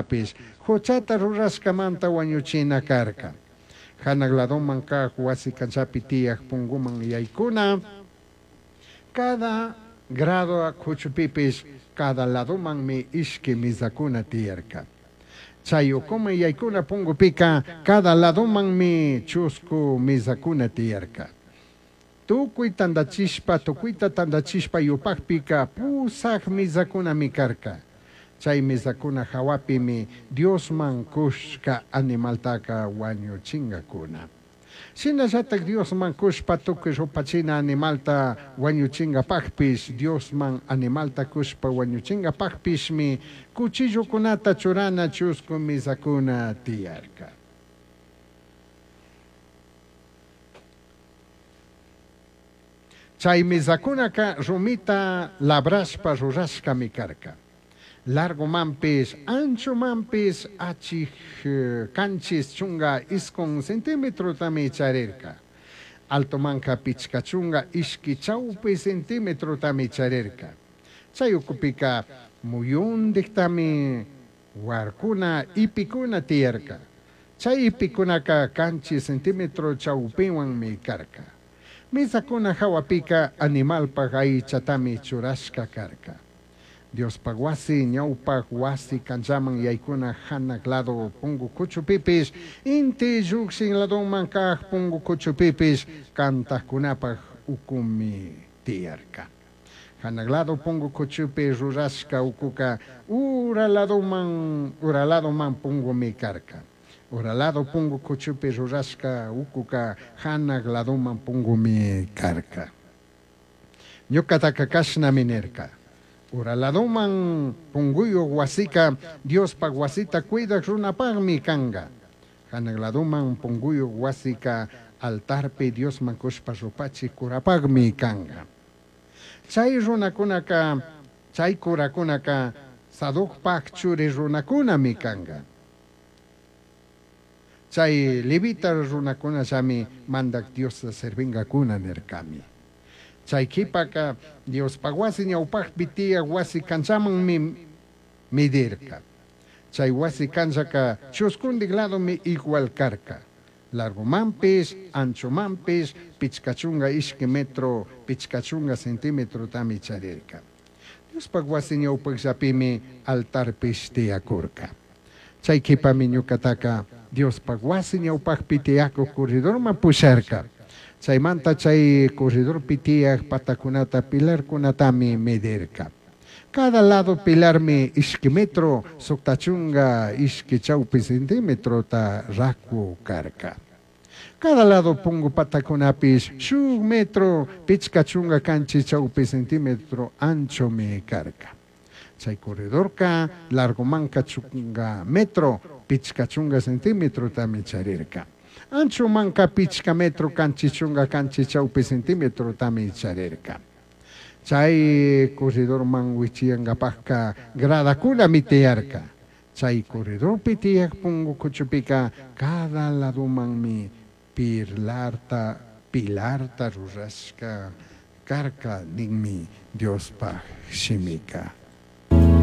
Pish juchata rurashcamanta huañuchina carca. Janaj ladoman caj huasi canllapi tiyaj punguman yaicuna cada grada cuchupipish cada ladomanmi ishqui mizacuna tiyarca. Chai ucuman yaicuna pungupica cada ladomanmi chuscu mizacuna tiyarca. Tucui tandachishpa, tucuita tandachishpa yupajpica pusaj mizacunami carca. Chai mizacuna jahuapimi Diosman cushca animaltaca huañuchingacuna. Shinallataj Diosman cushpa tucui rupachina animalta huañuchingapajpish, Diosman animalta cushpa huañuchingapajpishmi cuchillocunata churana chuscu mizacuna tiyarca. Chai mizacunaca rumita labrashpa rurashcami carca. Largomanpish, anchomanpish achij 79 centimetrotami charirca. Altomanca 52 chaupi centimetrotami charirca. Chai ucupica muyundijtami huarcuna ipicuna tiyarca. Chai ipicunaca 7 centímetro chaupihuanmi carca. Mizacuna jahuapica animalpaj aichatami churashca carca. Diospaj huasi ñaupaj huasi canllaman yaicuna janaj lado pungu cuchupipish, inti llujshin ladoman caj pungu cuchupipish cantajcunapaj ucumi tiyarca. Janaj lado pungu cuchupi rurashca ucuca ura ladoman, ura ladoman pungumi carca. Ura lado pungu cuchupi rurashca ucuca janaj ladoman pungumi carca. Ñucataca cashnami nirca. Ura ladoman punguyuj huasica Diospaj huasita cuidaj runapajmi canga. Janaj ladoman punguyuj huasica altarpi Diosman cushpa rupachij curapajmi canga. Chai runacunaca, chai curacunaca Sadocpaj churi runacunami canga. Chai levita runacunallami Mandaj Diosta servingacuna nircami. Chai quipaca Diospaj huasi ñaupajpi tiyaj huasi canllamanmi medirca. Chai huasi canllaca chuscundij ladomi igual carca. Largomanpish, anchomanpish, 52 metro, 50 centimetrotami charirca. Diospaj huasi ñaupajllapimi altarpish tiyacurca. Chai quipami ñucataca Diospaj huasi ñaupajpi tiyacuj corredorman pusharca. Chaimanta chai corredorpi tiyaj patacunata pilarcunatami medirca. Cada lado pilarmi ishqui metro, 62 chaupi centimetrota racu carca. Cada lado pungu patacunapish shuj metro, 57 chaupi centímetro anchomi carca. Chai corredorca largomanca chunga metro, 50 centimetrotami charirca. Anchomanca 5 metro, 77 chaupi centimetrotami charirca. Chai corredorman huichiyangapajca gradacunami tiyarca. Chai corredorpi tiyaj pungu cuchupica cada ladomanmi pilarta, pilarta rurashca carca ninmi Diospaj shimica.